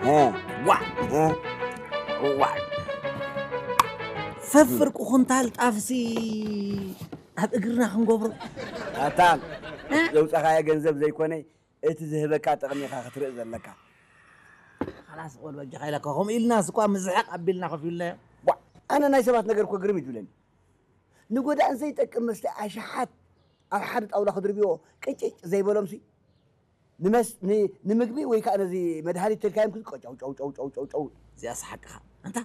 እ፣ ዋ፣ እ፣ ዋ። ፈፍርቂ ኩንታል ጣፍሲ ኣብ እግርና ክንገብሮ። ኣታ፣ እ? ዘውጻኻዮ ገንዘብ ዘይኮነ፣ እቲ ዝህበካ ጥቕሚ ኢኻ ክትርኢ ዘለካ። ኻላስ፣ ቆል በጃኻ ኢለካ፣ ከምኡ ኢልናስ እኳ ምዝሕቕ ኣቢልና ከፊልናዮ። ዋ፣ ኣነ ናይ ሰባት ነገር እኮ ግርም እዩ ዝብለኒ። ንጎዳእን ዘይጠቅም መስተ ኣሽሓት ኣብ ሓደ ጣውላ ክድርብዮ ቅጭጭ ዘይበሎምሲ፣ ንመስ-፣ ን-፣ ንምግቢ ወይ ከዓ ነዚ መድሃኒት ተልካዮም ክዝቆ ጨው፣ ጨው፣ ጨው፣ ጨው፣ ጨው፣ ጨው። እዚኣስ ሓቅኻ። ኣንታ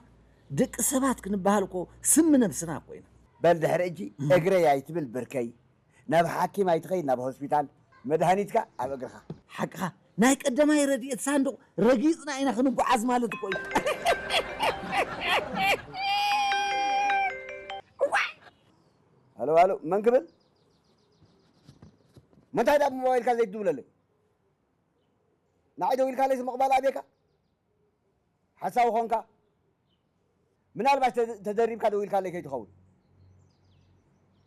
ደቂ ሰባት ክንበሃል እኮ ስም ነብስና እኮ ኢና። በል ድሕሪ እጂ እግረይ ኣይትብል ብርከይ፣ ናብ ሓኪም ኣይትኸይድ ናብ ሆስፒታል፣ መድሃኒትካ ኣብ እግርኻ። ሓቅኻ። ናይ ቀዳማይ ረድኤት ሳንዱቕ ረጊጽና ኢና ክንጓዓዝ ማለት እኮ እዩ። ሃሎ፣ ሃሎ፣ መን ክብል? መንታይ ደኣ ብሞባይልካ ዘይትድውለለይ? ንዓይ ደዊልካለይ ምቕባል ኣቤካ? ሓሳዊ ኾንካ? ምናልባሽ ተ-፣ ተደሪብካ ደዊልካለይ ከይትኸውን።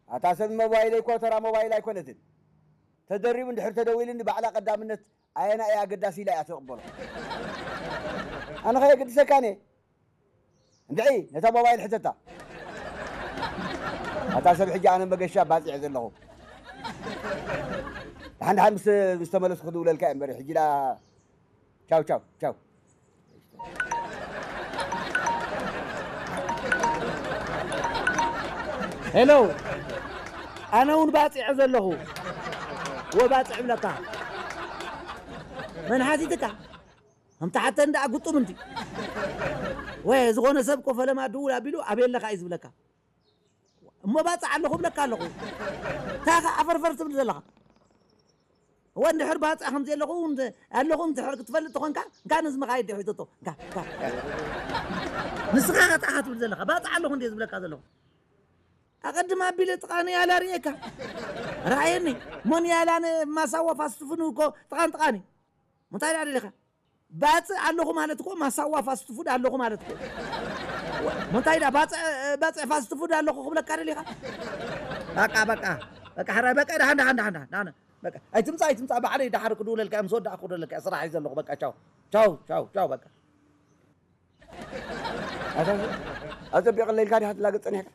ኣታ ሰብ ሞባይለይ እኮ ተራ ሞባይል ኣይኮነትን። ተደሪቡ እንድሕር ተደዊሉኒ ባዕላ ቀዳምነት ኣየና እያ ኣገዳሲ ኢላ እያ ትቕበሎ። ኣነ ኸ የገድሰካን እየ? እንድዒ ነታ ሞባይል ሕተታ። ኣታ ሰብ ሕጂ ኣነ መገሻ ባጺዐ ዘለኹ። ደሓን ደሓን ምስ፣ ምስ ተመለስኩ ክድውለልካ እየ እምበር ሕጂ ዳ ቻው ቻው ቻው። ሄሎ፣ ኣነ እውን ባጺዐ ዘለኹ። ወባጽዕ ብለካ። መን ሓቲትካ? ከምቲ ሓተን ደኣ ግጡም እንዲ። ወይ ዝኾነ ሰብ እኮ ፈለማ ድውል ኣቢሉ ኣበይ ኣለኻ እዩ ዝብለካ። እሞ ባጽዕ ኣለኹ እብለካ ኣለኹ። እንታይ ኢኻ ዓፈርፈር ትብል ዘለኻ? እወ፣ እንድሕር ባጽዕ ከም ዘለኹ እንተ-፣ ኣለኹ እንድሕር ክትፈልጥ ተኾንካ፣ እንካ ነዚ መኻይድ ዲኻ ሒዘቶ? እንካ፣ እንካ፣ እንካ። ንስኻ ኸ እንታይ ኢኻ ትብል ዘለኻ? ባጽዕ ኣለኹ እንድየ ዝብለካ ዘለኹ። ኣቐድም ኣቢለ ጥቓ ንያላ ርእየካ። ረኣየኒ። እሞ ንያላ ን-፣ ማሳዋ ፋስት ፉድ እኮ ጥቓን ጥቓን እዩ። እንታይ ደኣ ደሊኻ? ባጽዕ ኣለኹ ማለት እኮ ማሳዋ ፋስት ፉድ ኣለኹ ማለት እኮ። እሞ እንታይ ደኣ ባጽዕ፣ ባጽዕ ፋስት ፉድ ኣለኹ ክብለካ ደሊኻ? በቃ፣ በቃ፣ በቃ፣ ሕራይ፣ በቃ፣ ደሓን፣ ደሓን፣ ደሓን፣ ደሓን፣ ደሓን። በቃ፣ ኣይትምጻእ፣ ኣይትምጻእ፣ ባዕለይ ደሓር ክድውለልካ እየ፣ ምስ ወዳእኩ ክደውለልካ እየ፣ ስራሕ እየ ዘለኹ፣ በቃ፣ ቻው፣ ቻው፣ ቻው፣ ቻው፣ በቃ። ኣታ፣ ኣጸቢቕለይ ኢልካ ዲኻ ትላገጽ ጸኒሕካ?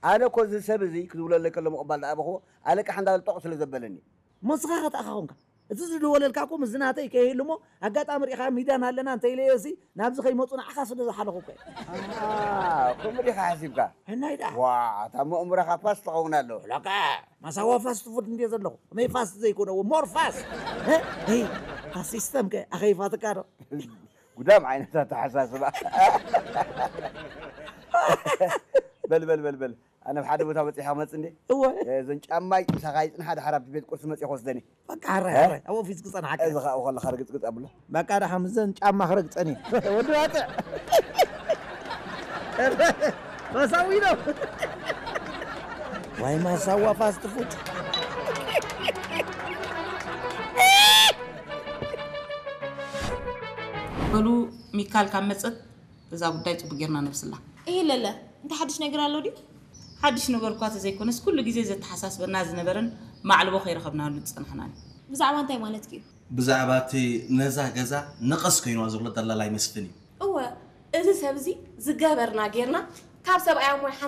ኣነ እኮ እዚ ሰብ እዚ ክድውለለይ ከሎ ምቕባል ደኣ ኣበኽዎ፣ ኣለቃሕ እንዳበለ ጦቕ ስለ ዘበለኒ። እሞ ንስኻ ኸ ተኣኻ ኾንካ? እቲ ዝደወለልካ እኮ ምስዚ ናተይ ከይህሉ እሞ፣ ኣጋጣሚ ርኢኻ ሚድያን ኣለና እንተኢለዮሲ፣ ናብዚ ከይመጹ ንዓኻ ስለ ዝሓለኹ እኮ እየ። ኣሃ፣ ከምኡ ዲኻ ሓሲብካ? ሕናይ ደኣ። ዋ፣ እታ እሞ እምሮኻ ፋስት ትኸውን ኣሎ። ለካ፣ ማሳዋ ፋስት ፉድ እንድየ ዘለኹ። ከመይ ፋስት ዘይኮነ፣ ሞር ፋስት። እ? እይ፣ እታ ሲስተም ከ ኣኸይፋትካ ዶ? ጉዳም ዓይነት ኣተሓሳስባ። በል፣ በል፣ በል፣ በል። ኣነ ኣብ ሓደ ቦታ በጺሐ ክመጽእ እንዴ? እወ። እዘን ጫማይ ምሳኻ ይጽንሓ፣ ድሓር ኣብቲ ቤት ቁርሲ መጺእ ክወስደኒ። በቃ፣ ሕራይ፣ እ? ሕራይ። ኣብ ኦፊስ ክጸንሓካ። እዚ ኸኣ ከለኻ ርግጽግጽ ኣብሎ። በቃ፣ ደሓ ምስዘን ጫማ ክረግጸን እየ። ወዲ ባጽዕ። ማሳዊ ነው። ዋይ፣ ማሳዋ ፋስት ፉድ። በሉ፣ ሚካል ካብ መጸት እዛ ጉዳይ ጽቡቅ ጌርና ነብስላ። እይ ለለ፣ እንታይ ሓድሽ ነገር ኣሎ ድዩ? ሓድሽ ነገር እኳ ተዘይኮነስ፣ ኩሉ ግዜ ዘተሓሳስበና ዝነበረን ማዕልቦ ከይረኸብናሉ ዝጸናሕናን እዩ። ብዛዕባ እንታይ ማለትኪ እዩ? ብዛዕባ እቲ ነዛ ገዛ ነቐስ ኮይንዋ ዘሎ ደላላይ መስፍን እዩ። እወ፣ እዚ ሰብ እዚ ዝገበርና ጌርና፣ ካብ ሰብኣይ ኣሞይ